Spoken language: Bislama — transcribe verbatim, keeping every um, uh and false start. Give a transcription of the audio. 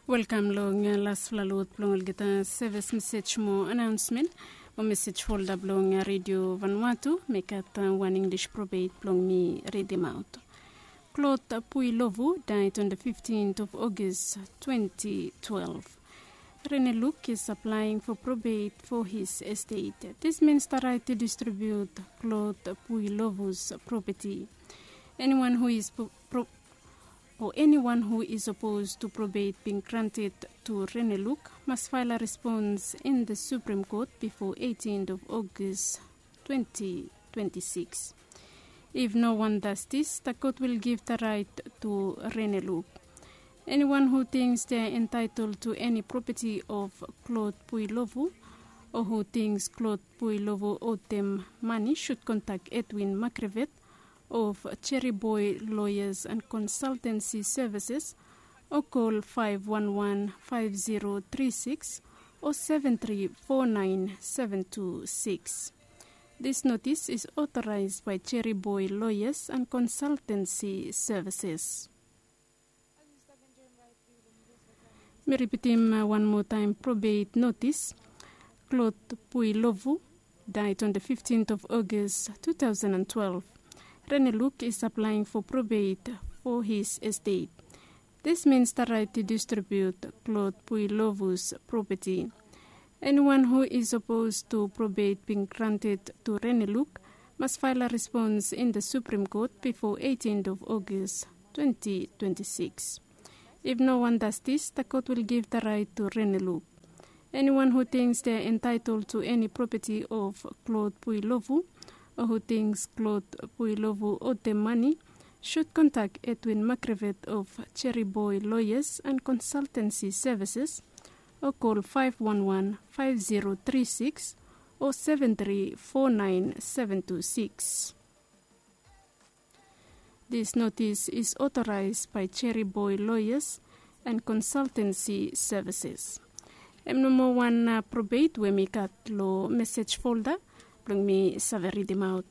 Welkam long lasfala lot blong olgeta sevis mesej mo anaonsmen mo mesej folda blong redio vanwatu. Mekat wan Inglis probet blong mi ridimaot. Klot Pui Lovu died on the fifteenth of August twenty twelve. Reneluk is applying for probate for his estate. This means the right to distribute Klot Pui Lovu's property. Anyone who is pro- pro- or anyone who is opposed to probate being granted to Reneluk must file a response in the Supreme Court before eighteenth of August twenty twenty-six. If no one does this, the court will give the right to Reneluk. Anyone who thinks they are entitled to any property of Klot Pui Lovu or who thinks Klot Pui Lovu owed them money should contact Edwin Makrevet of Cherry Boy Lawyers and Consultancy Services or call five one one five zero three six or seven three four nine seven two six. This notice is authorized by Cherry Boy Lawyers and Consultancy Services. Mi ripitim wan moa taem probet notis. Klot Pui Lovu died on the fifteenth of August two thousand and twelve. Reneluk is applying for probate for his estate. This means the right to distribute Klot Pui Lovu's property. Anyone who is opposed to probate being granted to Reneluk must file a response in the Supreme Court before eighteenth of August twenty twenty-six. If no one does this, the court will give the right to Reneluk. Anyone who thinks they are entitled to any property of Klot Pui Lovu or who thinks Klot Pui Lovu owed them money should contact Edwin Makrevet of Cherry Boy Lawyers and Consultancy Services or call five one one five zero three six or seven three four nine seven two six. This notice is authorized by Cherry Boy Lawyers and Consultancy Services. Hem nomo wan probet we mi gat lo mesej folda blong mi save ridimaot.